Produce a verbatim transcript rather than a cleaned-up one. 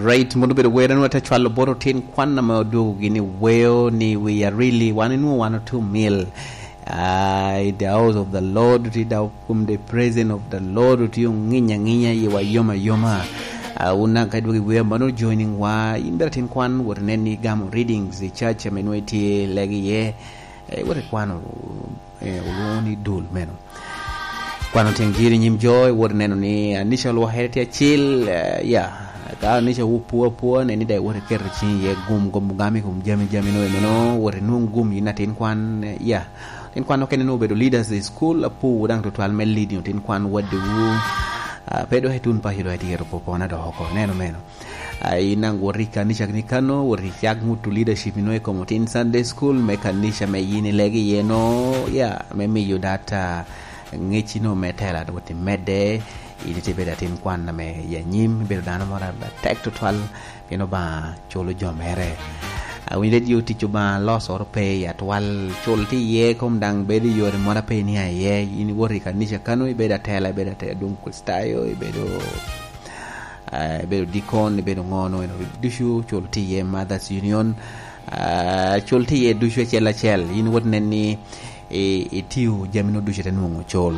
Right, mono bedo wera nwa te cwalo bot otin kwan ame odwogo gini weo ni we are really, wan inwo wan otu mil. Ah, in the house of the Lord, ti da kum the presence of the Lord, ti onginya nginya, yi wa yoma yoma. Ah, una ka dwogo wea mano joining wa, in bera tin kwan, wot nen ni gamo readings i church ame nwa itye legi ye. Eh, wot ikwano, eh, olwoŋo ni dul meno. Kwano tyen jiri i nyim jo, iwot ineno ni anica olwokere tye acil, eh, ya. Ka anica wu pwo apwoa, nen ni daŋ iwot iketo ciŋi iye gum, gum gam i kom jami, jami no enono, wot inwoŋ gum in atin kwan, eh, ya. Atin kwan okene nwoŋo obedo leaders i school, apowu daŋ tutwal me leading otin kwan waddiwu. Ah, pe dok itun paco dok itye iketo popona dok oko, neno meno. Ah, in daŋ wot i kanica ni kano, wot icak ŋuto leadership ino i kom otin Sunday school me kanica me yin ilegi iye no, ya, me miyo data ŋec ino me tela wot imedde, in itye bedo atin kwan ame i anyim, ibedo dano moro atek tutwal, pien Obaŋa culo jo mere. Awinyo redio tic Obaŋa losoro pe i atwal, cul tye iye, kom daŋ bedo i yore moro ape iniaŋ iye, in iwot i kanica kano, ibedo atela, ibedo ate-, adwoŋ Kricitayo, ibedo ah, ibedo dikon, ibedo ŋo, no, eno ducu cul tye iye Mothers Union, ah, cul tye iye ducu acel acel. In wot nen ni i-, itio jamino ducu ite nwoŋo cul.